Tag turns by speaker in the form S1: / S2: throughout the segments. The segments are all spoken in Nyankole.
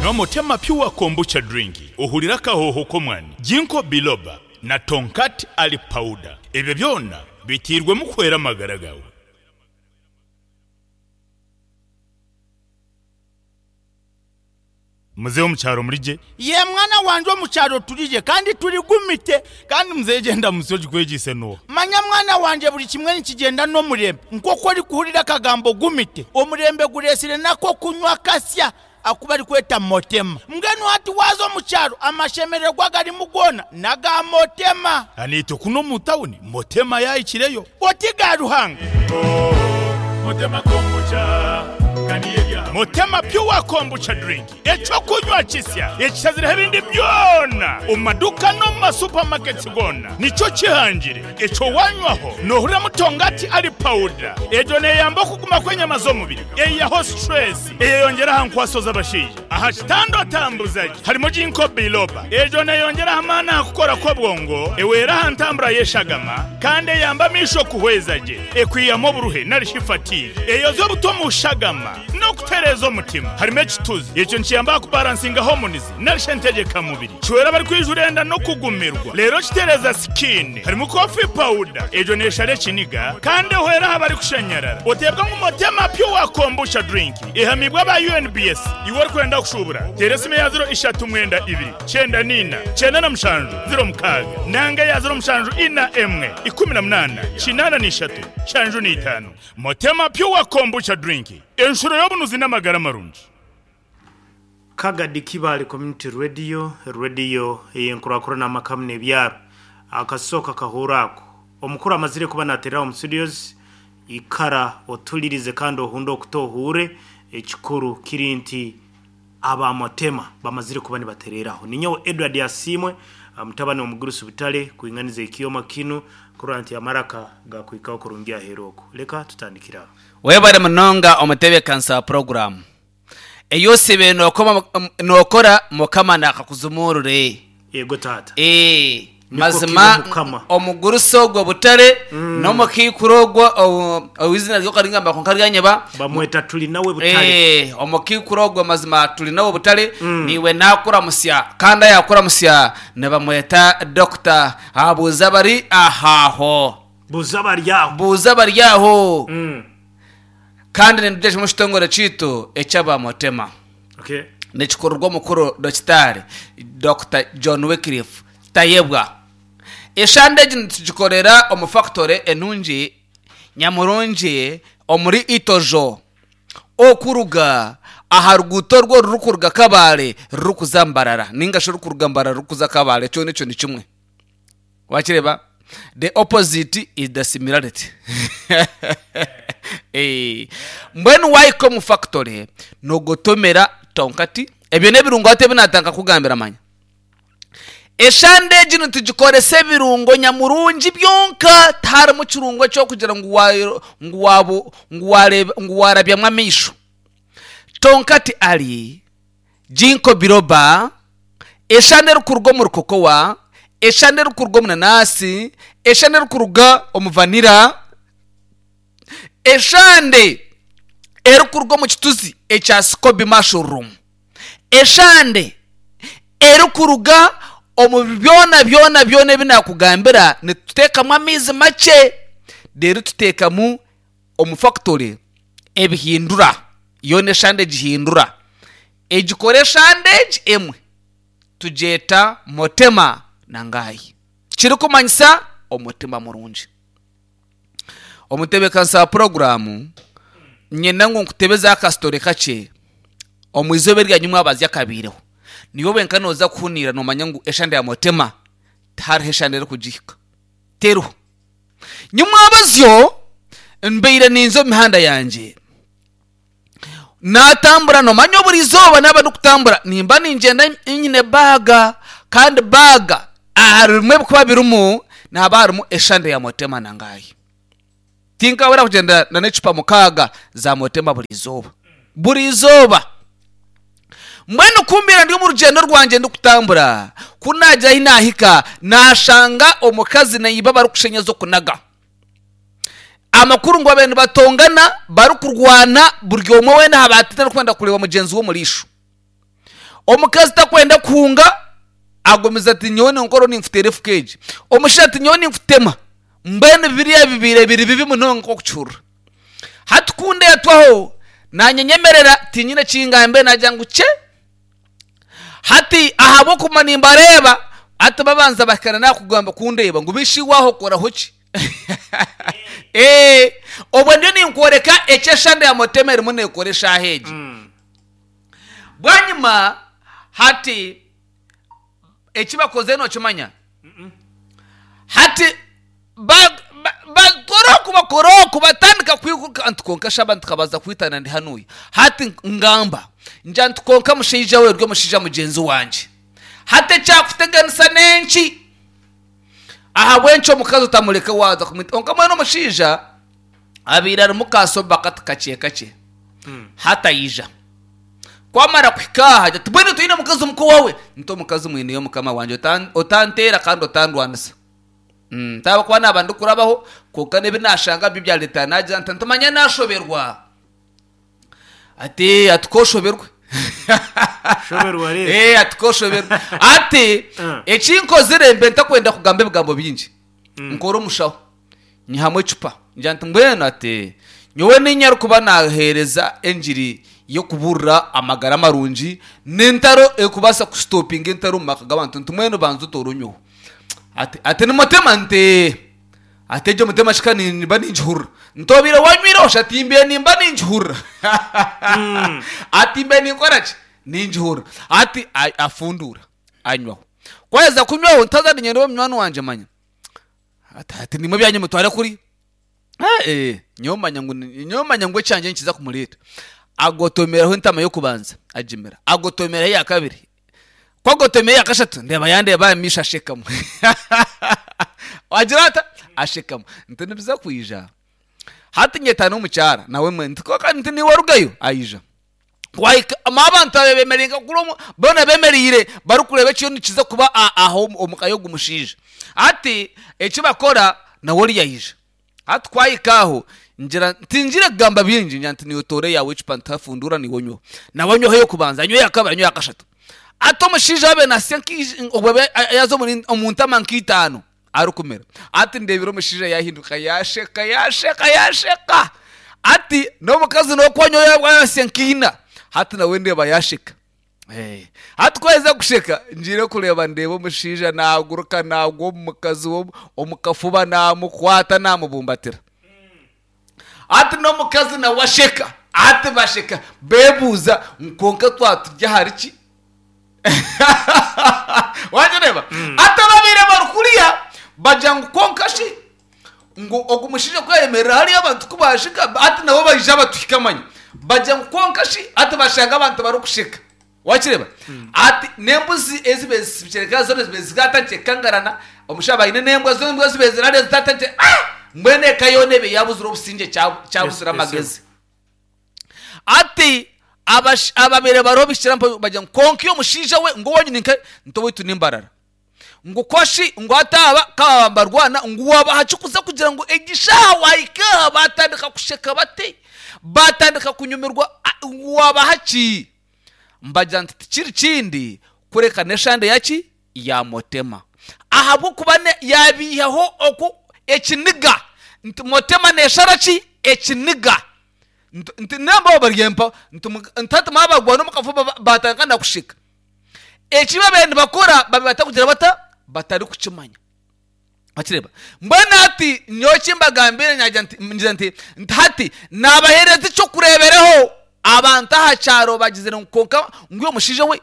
S1: Nywa Motema Pure Kombucha Drink ohurire akahooho k'omwani, Ginkgo Biloba na Tongkat Ali Powder. Ebyo byona biteirwemu kuhwera amagara gaawe. Muzeeyi omu kyaro muri gye? Yee mwana wangye omu kyaro turi gye kandi turi gumite. Kandi muzeeyi egyo endamutsyo ogikwegyeise n'oha? Manya mwana wangye buri kimwe nikigyenda n'omurembe. Nk'oku orikuhurira akagambo gumite, omurembe gureetsire n'ak'okunywa akasya aku barikweta Motema. Mbwenu hati waaza omu kyaro amashemererwa agarimu goona n'aga Motema. Naitwe kunu omu tawuni Motema yaahikireyo. Oti ga Ruhanga. Motema Pure Kombucha Drink, eky'okunywa kisya ekishazireho ebindi byona omu maduuka n'omu ma supermarkets goona nikyo kihangire. Ekyo wanywaho nohuriramu tongati ali powder. Egyo neyamba okuguma kw'enyama z'omubiri, eyihaho stress, eyeyongyera aha nkwaso z'abashaija. Aha kitanda otambuza gye harimu Ginkgo biloba. Egyo neyongyera aha maani aha kukora kw'obwongo, ehwera aha ntambura y'eshagama kandi eyamba amaisho kuhweza gye. Ekwihamu oburuhe nari shi fatigue. Eyoza obuta omu shagama n'okutereeza omutima. Harimu ekituzi. Ekyo nikiyamba aha kubaransinga hormones nari shi entegyeka mubiri. Kihwera abarikwijura enda n'okugumirwa. Reero kitereeza skin. Harimu coffee powder. Egyo neeshara ekiniga kandi ehwera aha barikushanyarara. Oteebwa ngu Motema Pure Kombucha Drink ehamiibwe aba UNBS. Iwe orikwenda kushuubura, teera esimu eya ziro ishatu mwenda ibiri, kyenda n'eina, kyenda na mushanju, ziro mukaaga nanga eya ziro mushanju ina emwe, ikumi na munaana, kinaana na ishatu, nshanju na itaano. Motema Pure Kombucha Drink, enshuro y'obunuzi n'amagara marungi.
S2: Kagadi Kibaale Community Radio, rediyo ey'enkurakurana amaka hamwe n'ebyaro. Akasooka kahuuro ako. Omukuru amazire kuba naterera omu studios, ikara otulirize kandi ohunde okutu ohuure, ekikuru kiri nti aba Motema bamazire kuba nibatereraho. Ninyowe Edward Asiimwe, mutabani w'omugurusi Butare, kwinganiza ekyoma kinu kurora nti amaraka gakuhikaho kurungi aheeru oku. Leka tutandikire aho.
S3: Webare munonga omutebekanisa wa puroguramu. Ei osiibire nookora Mukama naakakuzumuurure.
S2: Yego taata.
S3: Ee,
S2: Nikwo
S3: mazima
S2: kibe Mukama.
S3: omugurusi ogwo Butare n'omukaikuru ogwo ou eizina rye okaringamba kwonka ryanyeba.
S2: Bamweta Turinawe Butare.
S3: Ee, omukaikuru ogwo mazima Turinawe Butare niiwe naakuramutsya kandi ayaakuramutsya nibamweta Dokita Abuuza abari aho.
S2: Buuza abari aho.
S3: Buuza abari aho. Kandi nindugye kimwe ekitongore kyaitu eky'aba Motema.
S2: Okay.
S3: Nikikururwa omukuru Dokitaari, Dokita John Wycliffe Tayebwa. Eshande egi nitugikorera omu fakitore enungi nyamurungi omuri Itojo okuruga aha ruguuto orwo orurikuruga Kabale rurikuza Mbarara ninga shi orurikuruga Mbarara rurikuza Kabale kyona ekyo ni kimwe. Wakireeba? The opposite is the similarity. Eh, mbwenu waahika omu factory noogotomera tonkati ebyo n'ebirungo hati ebi naatandika kukugambira manya. Eshande egi nitugikoresa ebirungo nyamurungi byonka tiharimu kirungo eky'okugira ngu wa- ngu waabu- ngu waareeba- ngu waarabyamu amaisho. Tonkati ari Ginkgo biloba, eshande erikuruga omuri cocoa, eshande erikuruga omu nanasi, eshande erikuruga omu vanilla, eshande erikuruga omu kituzi ekya scoby mushroom, eshande erikuruga omu byona byona byona ebi naakugambira nituteekamu amaizi makye reero tuteekamu omu fakitori ebihindura yoona eshande egihindura egikora eshande egi emwe tugyeta motema na ngaayi kirikumanyisa omutima murungi. Omutebeekanisa wa puroguraamu nyenda ngu nkutebeze akasitore kakye omu izooba erya nyimwabazyo akabaireho niiwe wenka nooza kuhuniira noomanya ngu eshande ya motema tihariho eshande erikugihika teriho. Nyimwabazyo mbaire ninza omu mihanda yangye, naatambura noomanya buri izooba naaba ndikutambura nimba ningyenda nyine baaga kandi baaga ahari bimwe ebirikuba birimu nihaba harimu eshande ya motema na ngaayi. Tinkabura kugyenda n'ecupa mukaaga za motema buri izooba, buri izooba. Mbwenu ku mbaire ndi omu rugyendo rwangye ndikutambura, ku naagira ahi naahika, naashanga omukazi na iba barikushenya ez'okunaga. Amakuru ngu babaire nibatongana, barikurwana, buri omwe weena aha baatine arikwenda kureeba mugyenzi we omu riisho. Omukazi takwenda kuhunga, agumize ati nyowe ninkora ninkuteera efuka egi. Omushaija ati nyowe ninkutema. Mbwenu biriya bibaire biri bibi munonga nk'okukihurira. Hati ku ndeetwaho, naanye nyemerera tinyine ki ngambe naagira ngu kye. Hati ahabw'okuguma nimbareeba, hati babanza bahika na n'aha kundeeba ngu bishi iwe aho okoraho ki? Ee, obwo ndiyo ninkworeka eki eshande ya Motema erimu neekora eshaaha egi. Bwanyima hati eki bakozire nookimanya? Hati bakora oku bakora oku batandika kwiguka nti kwonka shi abantu tukabaza kwitana ndi hanuya. Hati ngamba ngira nti kwonka mushaija we ori omushaija mugyenzi wangye. Hati ekyakuteganisa n'enki? Ahabw'enki omukazi otamureka waaza kumwita? Kwonka mbwenu omushaija abaire arimu kasoba kati kakye kakye. Hati aija. Ku amara kuhika aha agira ati, Mbwenu toine mukazi omuka owaawe? Nti omukazi mwineyo mukama wangye, otanteera kandi otandwanisa. Nti ahabw'okuba naaba ndikurabaho, kwonka n'ebi naashanga byo byareetera naagira nti, nti manya naashoberwa. Ati, ati k'oshoberwe.
S2: Shoberwa reero.
S3: Eh, ati k'oshoberwe. Ati, eki nkozire mbe ntakwenda kugamba ebigambo bingi. Nkora omushaho. Nyihamu ecupa, ngira nti, Mbwenu ati, nyowe niinye arikuba naaheereza engiri y'okubuurira amagara marungi n'entaro erikubaasa kusitopinga entaro omu maka g'abantu. Nti, Mbwenu banza otoore onyweho. Ati, ati ni mutema? Nti, Ee. Ati, Egyo mutema shi ka nimba ningihurira. Nti, Obaire wanyweireho shi? Ati, Mbaire nimba ningihurira. Ati, Mbaire ninkora ki? Ningihurira. Ati, afunduura, anywaho. Ku aheza kunywaho, nti, Haza niinyenda obe munywani wangye manya. Ati ati nimwe ebyanyu mutware kuri. Eh, nyowe manya ngu nyowe manya ngu ekyangye nikiza kumureeta. Agotomeraho entama y'okubanza agimira, agotomeraho eya kabiri. Ku agotomera eya kashatu ndeeba yandeeba aha maisho ashekamu. Agira ata? Ashekamu. Nti nibiza kwija. Hati nyeta n'omukyara nawe mwe nti kwonka nti niiwe orugayo? Aija. Kwahika abantu abe bemereire nka kuri omu boona bemereire barikureeba ekiriyo nikiza kuba aho omu ka y'ogu mushaija. Hati eki bakora nawe oriya aija. Hati ku ahika aho ngira tingire kugamba bingi ngira nti niiwe toora eyaawe ecupa ntafundura niiwe onyweho. Nawe anyweho ey'okubanza, anywe eya kabiri, anywe eya kashatu. Hati omushaija waaba naasya obwo yaaza omu ntama nk'itaano arikumira. Hati ndeebire omushaija yaahinduka yaasheka, yaasheka, yaasheka. Hati n'omukazi nawe ku anywa yaaba yaasya nkaina, hati nawe ndeeba yaasheka. Hati ku aheza kusheka, ngiire kureeba ndeeba omushaija naaguruka naagwa omu mukazi we omu kafuba naamukwata naamubumbatira. Hati n'omukazi nawe asheka. Hati basheka beebuuza ngu kwonka twaba turi ahari ki? Wagireeba? Hati ababaire bari kuriya bagira ngu kwonka shi ngu ogu mushaija ku yayemerera hariya abantu ku baasheka hati nabo baija batuhika manya. Bagira ngu kwonka shi hati bashanga abantu barikusheka. Wakireeba? Hati n'embuzi ezibaire zitsibikire zoona zibaire zatandikire kukangarana, omushaija aba aine n'embwa zoona embwa zibaire ziri hariya zitandikire ah! Mbwenu eka yoona eba yaabuzire obusingye kyabuzire amagezi. Hati ababaire bariho bihikire aho bagira ngu kwonka iwe omushaija we ngu owanyu ni nkahe? Nti owaitu ni Mbarara. Ngu koshi ngu hati aba ka baaba nibarwana ngu wabaha ki kuza kugira ngu egi shaaha waahika aha baatandika kusheka bati, baatandika kunyumirwa ngu wabaha ki? Mbagira nti tikiri kindi kureka n'eshande yaki? Ya Motema. Ahabw'okuba yaabiihaho oku ekiniga nti Motema neeshara ki? Ekiniga. Nti namba abo bari empa nti hati mwabagwana omu kafuba baatandika na kusheka. Eki babaire nibakora babaire batakugira bata? Batarikukimanya. Wakireeba? Mbwenu hati nyowe eki mbagambiire naagira nti, ngira nti, nti hati naabaheereza eky'okureeberaho abantu aha kyaro bagizire ngu kwonka ngu iwe mushaija we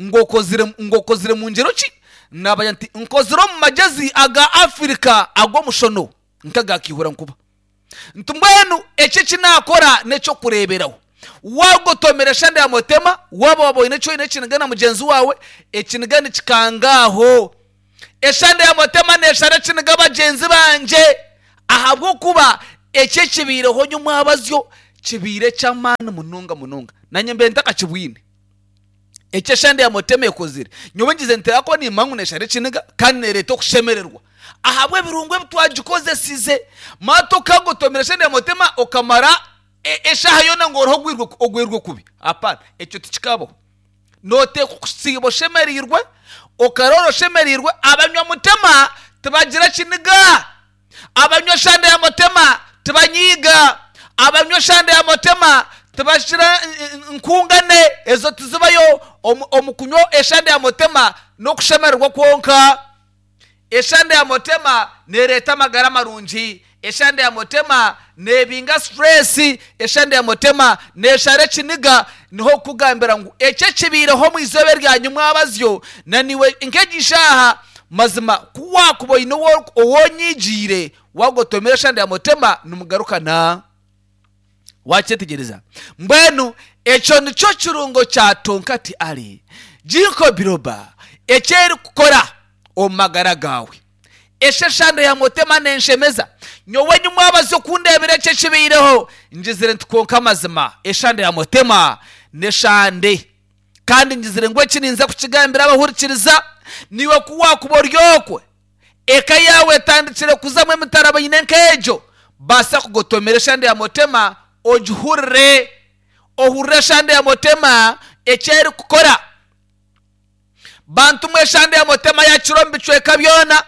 S3: ngu okozire ngu okozire mu ngyero ki? Naabagira nti nkozire omu magyezi aga Afirika ag'omushono nk'aga kiihura nkuba. Nti mbwenu eki eki naakora n'eky'okureeberaho. Waagotomera eshande ya motema, waaba waaba oine eki oine ekiniga na mugyenzi waawe, ekiniga nikikanga aho. Eshande ya motema neeshara ekiniga bagyenzi bangye ahabw'okuba eki ekibaireho nyomwabazyo kibaire eky'amaani munonga munonga. Naanye mbaire ntakakibwine. Eki eshande ya motema ekozire, nyowe ngize nti ahakuba nimmanya ngu neeshara ekiniga kandi neereeta okushemererwa ahabw'ebirungo ebi twagikozesize. Maate okagotomera eshande ya motema okamara eshaaha yoona ngu oriho ogwirwe kubi? Hapana, ekyo tikikabaho. Nooteekwa kusiiba oshemereirwe, okaroora oshemereirwe. Abanywa mutema tibagira kiniga. Abanywa eshande ya mutema tibanyiiga. Abanywa eshande ya mutema tibashira nkungane. Ezo tizibayo. Omu kunywa eshande ya mutema n'okushemererwa kwonka. Eshande ya mutema nereeta amagara marungi. Eshande ya mutema nebinga stress. Eshande ya mutema neshara ekiniga. Niho kukugambira ngu ekyo ekibaireho omu izooba eryanyu mwabazyo na niiwe nk'egi shaaha mazima ku waakuba oine ou onyigiire waagotomera eshande ya mutema nimugarukana. Wakyetegyereza? Mbwenu ekyo nikyo kirungo kya Tonkati Ali Ginkgo Biloba eki erikukora omu magara gaawe. Esheshando ya Mutema nenshemeza. Nyowe nyimwabaza okundeebera eki ekibaireho, ngizire nti kwonka amazima eshando ya Mutema n'eshande. Kandi ngizire ngu eki ninza kukigambira abahurikiriza, naiwe ku waakuba ori okwe, eka yaawe etandikire kuzamu emitarabaine nk'egyo, baasa kugotomera eshando ya Mutema ogihurire. Ohurire eshando ya Mutema eki erikukora. Bantu mwe eshande ya Mutema yakira omu bicweka byona,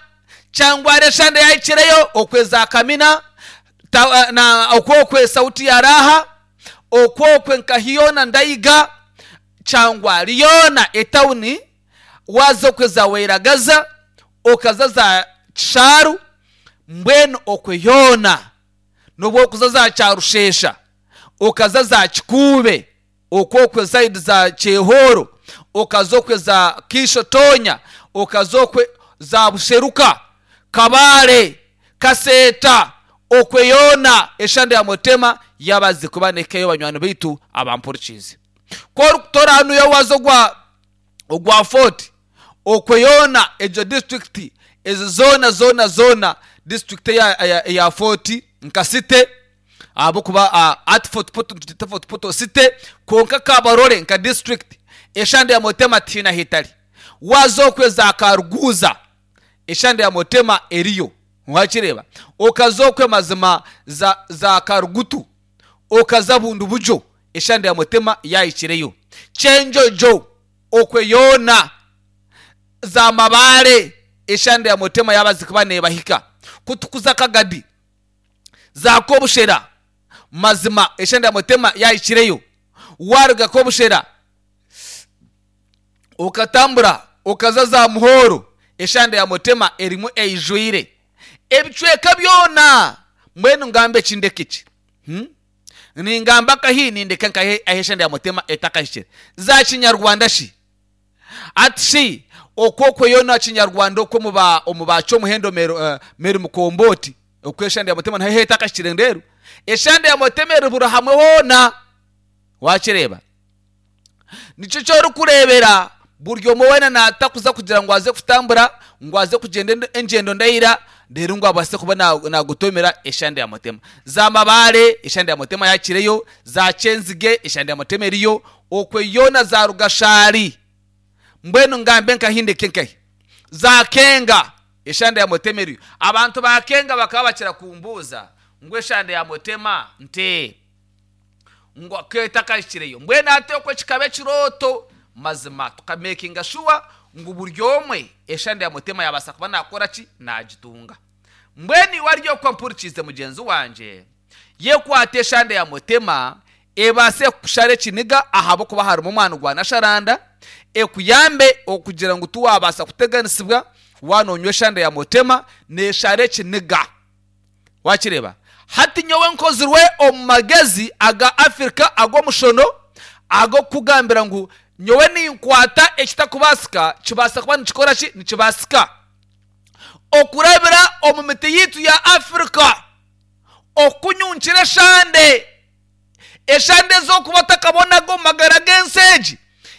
S3: kyangwara eshande yahikireyo okwe za Kamina, ta, na okwe okwe Sauti ya Raha, okwe okwe nka hiyona Ndaiga, kyangwari yoona etawuni, waza okwe za Wairagaza, okaza za Kisharu, mbwenu okwe yoona nobu okuza za Kyarushesha, okaza za Kikuube, Okwo okwe side za Kyehooro, okaza okwe za Kiisho Tonya, okaza okwe za Busheruka, Kabale, Kaseeta, okwe yoona eshande ya Mutema yabazize kuba nekeyo banywani baitu abampurikiize. Ku orikutoora hanuya waza ogwa ogwa Fort, okwe yoona egyo district ezo zoona zoona zoona district eya eya Fort nka city, ahabw'okuba hati Fort Portal nitugyeta Fort Portal City kwonka Kabarole nka district eshande ya Motema tihaine ahu etari. Waaza okwe za Karuguuza eshande ya Motema eriyo wakireeba, okaza okwe mazima za za Karugutu okaza Bundibugyo eshande ya Motema yaahikireyo, Kyenjojo okwe yoona za Mabaare eshande ya Motema yaabazi kuba neebahika kutukuza Kagadi. Za Kobushera, mazima eshenda ya Mutema yahikireyo. Waruga Kobushera okatambura okaza za Muhoro, eshanda ya Mutema erimu eijwire ebicweka byona. Mbwenu ngambe ki ndeke ki? Hmm? Ningamba nkahi nindeka nkahi ahu eshanda ya Mutema etakahikire? Za Kinyarwanda shi? Ati shi okwo okwo yoona Kinyarwanda okwo omu ba omu ba Kyomuhendo Mary, uh, Mary Mukombooti okwo eshanda ya Mutema naho etakahikire ndeeru. Eshanda ya Mutema eri buri hamwe hoona. Waakireeba? Nikyo eki orikureebera buri omwe weena naatakuza kugira ngu aze kutambura, ngu aze kugyenda engyendo ndaira, reero ngu abaase kuba naagotomera eshanda ya Mutema. Za Mabaare, eshanda ya Mutema yaakireyo, za Kyenzige, eshanda ya Mutema eriyo, Okwe yoona za Rugashaari, mbwenu ngambe nkahi ndeke nkahi? Za Kenga, eshanda ya Mutema eriyo. Abantu ba Kenga bakaba bakira kumbuuza ngu eshanda ya Mutema nte? Ngu ku etakahikireyo. Mbwenu hati okwo kikaba ekirooto mazima tukamekinga shuwa ngu buri omwe eshanda ya Mutema yabaasa kuba nakora ki? Nagitunga. Mbwenu iwe ari okwo mpurikiize mugyenzi wangye, yekwate eshanda ya Mutema ebaase kukushara ekiniga ahabw'okuba harimu omwani gwa nasharanda, ekuyambe okugira ngu tiwabaasa kuteganisibwa waaba noonywa eshanda ya Mutema, neeshara ekiniga. Wakireeba? Hati nyowe nkozirwe omu magezi aga Afirika ag'omushono ag'okukugambira ngu nyowe ninkwata ekitakubaasika kibaasa kuba nikikora ki? Nikibaasika. Okurabira omu miti yaitu ya Afirika, okukunyunkira eshande, eshande ezi orikuba otakabonaga omu magara g'ensi egi,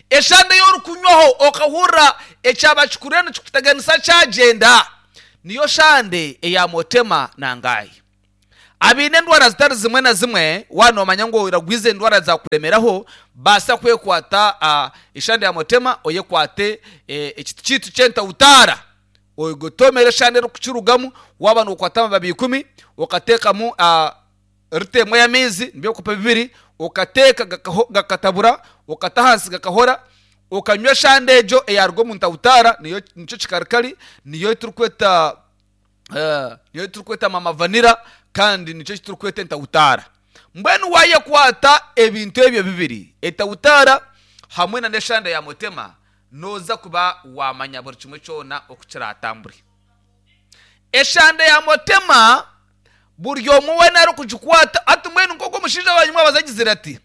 S3: eshande ei orikunywaho okahurira ekyaba kikuriyo nikikuteganisa kyagyenda, niyo shande eya Motema na Ngai. Abaine endwara zitari zimwe na zimwe, waaba noomanya ngu oragwize endwara zaakuremeraho, baasa kwekwata eshande ya Motema oyekwate ekiti kyaitu ky'entautaara ogotomere eshande erikukirugamu, waaba nookwata amababi ikumi okateekamu rita emwe y'amaizi nibyo ebikopo bibiri, okateeka gakatabura, okata ahansi gakahora. Okanywa eshande egyo eyaaruga omu ntawutaara, niyo nikyo kikarikari, niyo ei turikweta niyo ei turikweta mama vanilla kandi nikyo eki turikweta entawutaara. Mbwenu waayekwata ebintu ebyo bibiri, etawutaara hamwe na n'eshande ya mutema, nooza kuba waamanya buri kimwe kyona oku kiraatambure. Eshande ya mutema buri omwe weena arikugikwata, hati mbwenu nk'oku omushaija waanyu mwabaza agizire ati,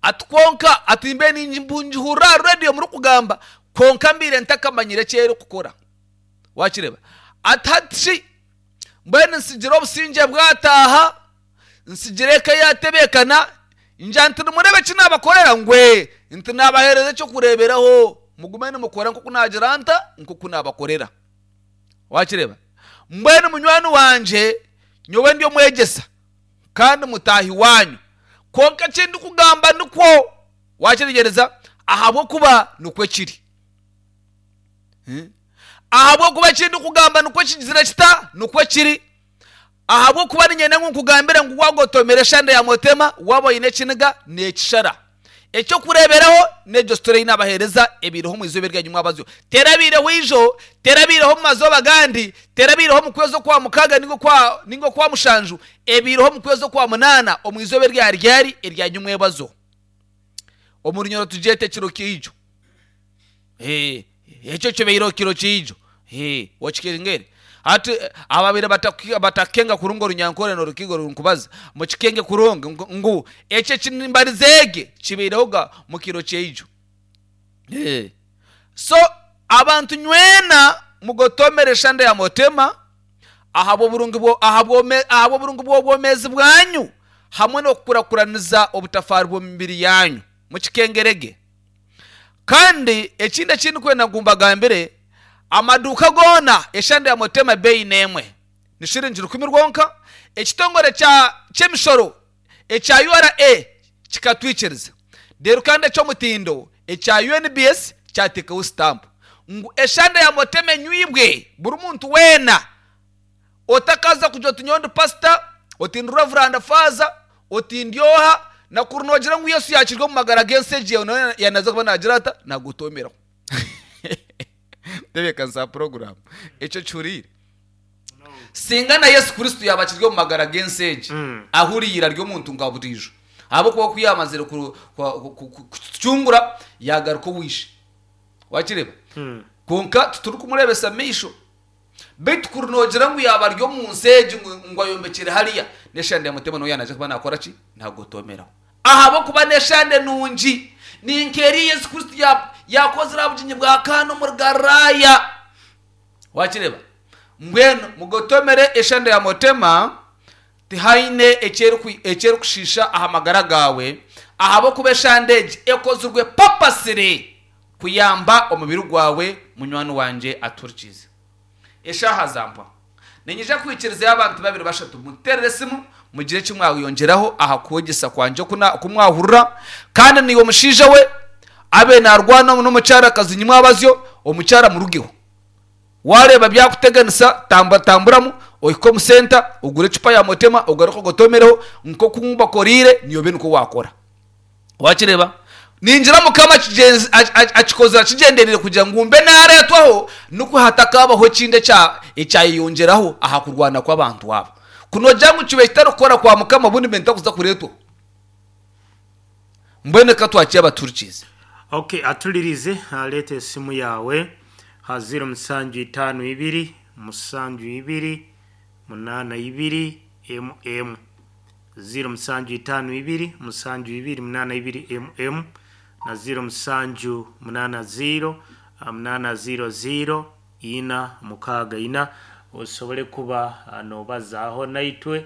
S3: Ati kwonka ati mbe ningihurira aha rediyo murikugamba kwonka mbaire ntakamanyire eki erikukora. Wakireeba? Ati hati shi mbwenu nsigire obusingye bwataaha, nsigire eka yaatebeekana, ngira nti nimureeba eki naabakorera? Ngu ee, nti naabaheereza eky'okureeberaho mugume nimukora nk'oku naagira nta? Nk'oku naabakorera. Wakireeba? Mbwenu munywani wangye nyowe ndi omwegyesa. kandi mutaahi waanyu. Kwonka eki ndikugamba nikwo wakyetegyereza, ahabw'okuba nikwo kiri. Ahabw'okuba eki ndikugamba nikwo kigizire kita? Nikwo kiri. Ahabw'okuba niinyenda ngu nkugambire ngu waagotomera eshande ya mutema, waaba oine ekiniga, neekishara. Eky'okureeberaho n'egyo sitore ei naabaheereza ebaireho omu izooba eryanyu mwabazyo. Terabaireho ijo, terabaireho omu mazooba agandi, terabaireho omu kwezi okwa mukaaga nainga okwa nainga okwa mushanju, ebaireho omu kwezi okwa munaana omu izooba erya ryari eryanyu mwebazo. Omu Runyoro tugyete ekiro kyaijo. Ee, ekyo kibaireho kiro kyaijo. Ee, okikengere. Hati ababaire batakukenga kurungi Orunyankore n'Orukiga oru nkubaza, mukikenge kurungi ngu ekyo eki nimbariza egi kibaireho ga mu kiro kyaijo. Ee. So abantu nywena mugotomere eshande ya motema ahabw'oburungi bwo ahabw'oburungi bw'obwomeezi bwanyu hamwe n'okukurakuraniza obutafaari bw'omibiri yanyu. Mukikengere ge. Kandi ekindi eki ndikwenda ngu mbagambire, amaduuka goona eshande ya Motema Bay n'emwe ni shiringi rukumi rwonka. Ekitongore kya ky'emishoro ekya ura kikatwikiriza reero kandi eky'omutindo ekya UNBS kyateekaho sitampu ngu eshande ya Motema enywibwe buri muntu weena. Otakaza kugira oti nyowe ndi pasita, oti ndi revuranda faaza, oti ndi oha, na kuri noogira ngu Yesu yaakiri omu magara g'ensi egi yawe nawe yanaza kuba naagira ata? Naagotoomeraho. Ntebeekanisa puroguraamu. Ekyo okihuriire? Singa na Yesu Kristo yaaba akiri omu magara g'ensi egi, ahuriire ari omuntu nka buriijo. Ahabw'okuba ku yaamazire kutucungura, yaagaruka owa Ishe. Waakireeba? Kwonka titurikumureebesa maisho. Beitu kuri noogira ngu yaaba ari omu nsi egi ngu ayombekire hariya, n'eshande ya Mutema nawe yaanaija kuba naakora ki? Naagotoomeraho. Ahabw'okuba n'eshande nungi, ni nk'eri ei Yesu Kristo yaakozire aha bugyenyi bwa Kaana omuri Galilaaya. Waakireeba? Mbwenu mugotoomere eshande ya Mutema, tihaine eki erikushiisha aha magara gaawe, ahabw'okuba eshande egi ekozirwe papasire. Kuyamba omubiri gwawe munywani wangye atuhurikiize. Eshaaha zampwa. Niinyija kwikirizayo abantu babiri bashatu munteerere esimu mugire eki mwayongyeraho aha kwegyesa kwangye oku mwahurira. Kandi naiwe mushaija we abe naarwana n'omukyarakazi nyimwabazyo, omukyara murugeho. Waareeba byakuteganisa tambatamburamu ohike omu senta ogure ecupa ya motema ogaruke ogotomereho nk'oku mbakoreire naiwe obe nikwo waakora. Wakireeba? Ningira Mukama akikozire akigyendereire kugira ngu mbe naareetwaho nikwo hatakaabaho ekindi ekyayeyongyeraho aha kurwana kw'abantu aba. Ku noogira ngu kibaire kitarikukora kwa Mukama obundi mbe ntakuza kureetwaho. Mbwenu reka twakire abatuhurikiize.
S2: Ok, atulirize leeta esimu yaawe ha ziro musanju itaano ibiri musanju ibiri munaana ibiri emu emu. Ziro musanju itaano ibiri musanju ibiri munaana ibiri emu emu na ziro musanju munaana ziro munaana ziro ziro ina mukaaga ina osobole kuba nobazaaho naitwe.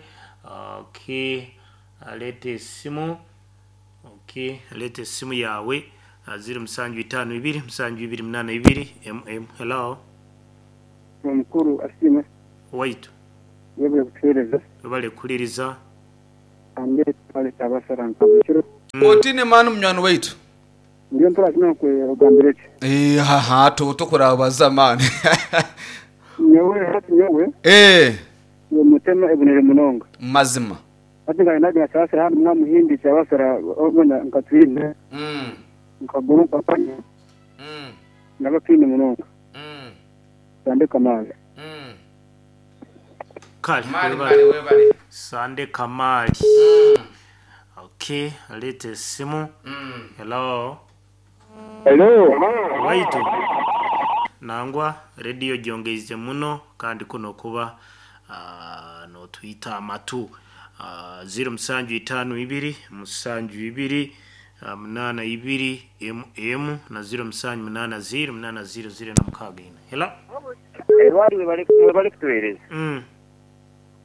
S2: Okay, leeta esimu. Okay, leeta esimu yaawe ziro musanju itaano ibiri musanju ibiri munaana ibiri emu emu. Hello.
S4: Omukuru asiimwe.
S2: Owaitu.
S4: Webale kutuhereza.
S2: Webale kuhuririza.
S4: Kandi twale kyabasara nka buri kiro.
S3: Otiine mani munywani waitu.
S4: Ndiyo mpora kino nkugambire ki.
S3: Eeh haha tokurabaza mani.
S4: Nyowe hati nyowe.
S3: Eeh.
S4: Nyowe mutema ebonere munonga.
S3: Mazima.
S4: Hati nka naga kyabasara hanu mwamuhindi kyabasara obona nka twine. Nkaguma nkakanywa naba kiine munonga. Sande Kamali.
S2: Kale
S3: Mali
S2: webale.
S3: mali webale.
S2: Sande Kamali. Okay, leeta esimu. Hello.
S4: Hello.
S2: Waitu. Nangwa radio gyongeize muno kandi kuno kuba notwita amatu. 0752 72 82 mm na 0780 800 na mukaaga ina. Hello.
S5: Ebali webali kutuweereza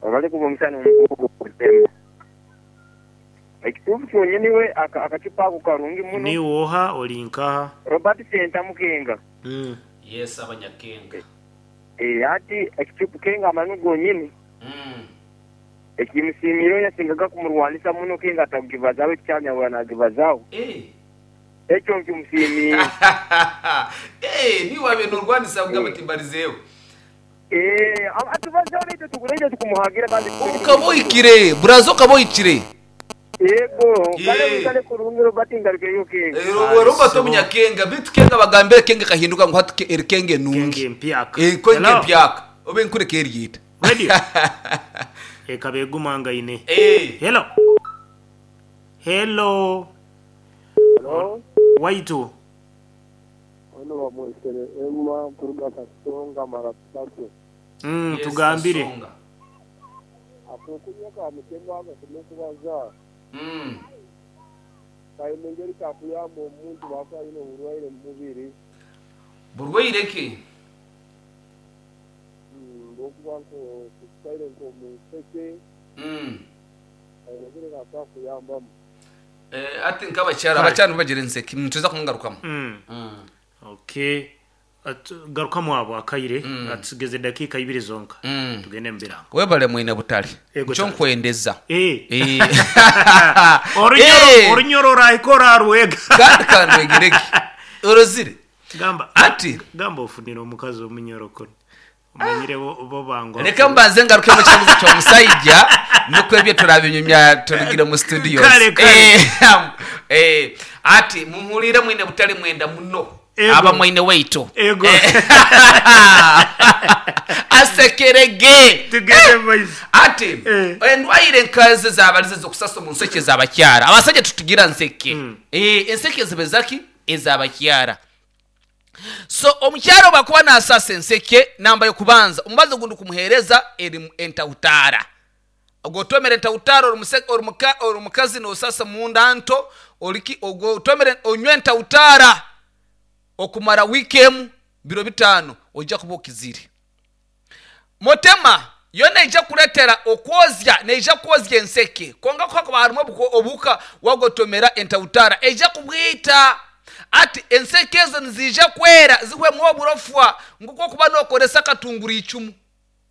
S5: abali kuba omusana omukugu kutema ekituufu kyonyini we akacupa ako karungi muno.
S2: Ni woha oli nkaha?
S5: Robert Senta Mukenga.
S3: Yes, abanyakenga.
S5: Ati ekicupa kenga amani gonyini ekimusiimire yasingaga kumurwanisa muno kenga atakugibazaho ekikyanyabura nagibazaho. Ekyo nkimusiimiire.
S3: Ni wabe norwanisa kugamba timbarizeeho.
S5: Atubazaho naitwe tugureije tukumuhagira kandi
S3: Ukaba ohikire buraza ukaba ohikire.
S5: Yego kale kale kurungi Robert ngarukeyo kenga.
S3: Robert omunyakenga bitu kenga bagambire kenga kahinduka ngu hati eri kenge nungi.
S2: Kenge mpyaka.
S3: Kenge
S2: Hello.
S3: mpyaka obe nkureka eryita.
S2: Radio. Ekaba egumangaine. Hello. Hello.
S4: Hello.
S2: Waitu.
S4: Ono bamwesere Emma kuruga Kasonga mara tatu.
S2: Tugambire.
S4: Akokunywa ka mutemwa agasome kubaza. Kaine engeri kakuyamba omuntu bw'akuba ayine oburwaire mu mubiri.
S3: Burwaire ki?
S4: Bw'okuba nko nk'omunseke. Kaine engeri kakuyambamu.
S3: Ati nk'abakyara abakyara nibagira enseke nituza kungarukamu.
S2: Okay. Garukamu abo akaire atugeze dakika ibiri zonka. Tugende mu birango.
S3: Webale mwine butale.
S2: Ego
S3: Nco
S2: tata.
S3: nkwendeza.
S2: Orunyoro orunyoro rahikora rwega.
S3: Kandi kandwegereke orozire.
S2: Gamba
S3: ati
S2: gamba ofunira omukazi omunyoro kono. Omanyire bo bangwa.
S3: Reka mbanze ngaruke mu kibuzo ky'omusajja nukwo ebyo turabinyumya turugire mu studios.
S2: Kale, kale.
S3: Ati muhurire mwine butale mwenda muno.
S2: Ego.
S3: Aba mwine weito.
S2: Ego.
S3: Asekerege.
S2: Tugende boys.
S3: Ati endwaire nkaze zabarize zokusasa mu nseke z'abakyara. Abasajja tutugira nseke. Enseke zibe zaki ez'abakyara. So omukyaro bakuba nasasa enseke namba yokubanza omubazo gundi kumuhereza eri entawutara. Ogotomere entawutara ori mukazi nosasa munda nto oriki ogotomere onywe entawutara okumara weekend biro 5 ojja kuba okizire. Motema yo neija kuretera okwozya neija kwozya enseke konga kwa harimu obuka wagotomera entawutara eija kubwita. Ati enseke ezo nizija kwera zihwemu oburofwa nguko kuba nokoresa katunguru icumu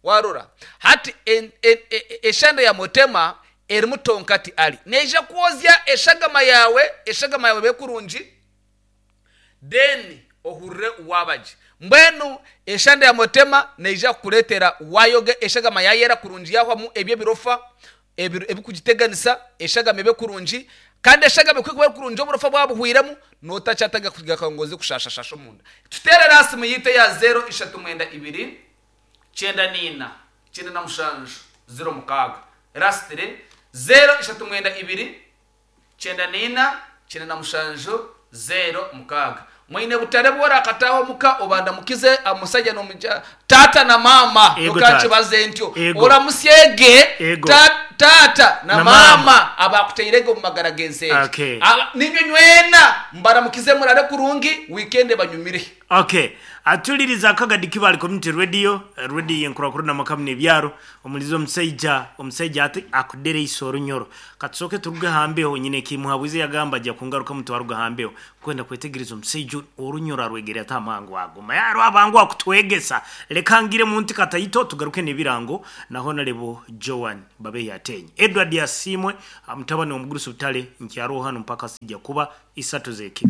S3: warora. Hati eshanda ya motema erimu tonkati ali neija kwozya eshagama yawe bekurungi then ohurre wabaji mbwenu eshanda ya motema neija kukuretera wayoge eshagama yayera kurungi yahwamu ebyo birofa ebikugiteganisa eshagama ebe kurungi kandi eshagama kwikuba kurungi oburofa bwabuhwiremu notacyataga kugira kangozi kushashashasha omunda. Tutere rasi muyite ya 0 3 2 9 4 97 06 rasitire 0 3 2 9 4 97 06. Mwine butare bwora akataho muka obanda mukize amusajja nomuja tata na mama okakibaze ntyo oramusyege tata na mama abakuteirege mu magara gensenge.
S2: Okay.
S3: Ninyo nywena mbaramukize murare kurungi weekend banyumire.
S2: Okay. Atuliriza akagadi Kibali Community Radio, radio yenkurakuru na makamne byaro omulizo omusajja ati akudere isoro nyoro. Katsoke turuge hambeho nyine kimuhabuze yagamba ajya kungaruka mutwaruga hambeho kwenda kwetegereza omusajja orunyoro arwegere atamangu aguma. Yaro abangu akutwegesa lekangire muntu katayito tugaruke nebirango na Honorable Joan babe yatenye. Edward Yasimwe mutabani omugurusu butale nkyaro hano mpaka sijja kuba isatu zeki.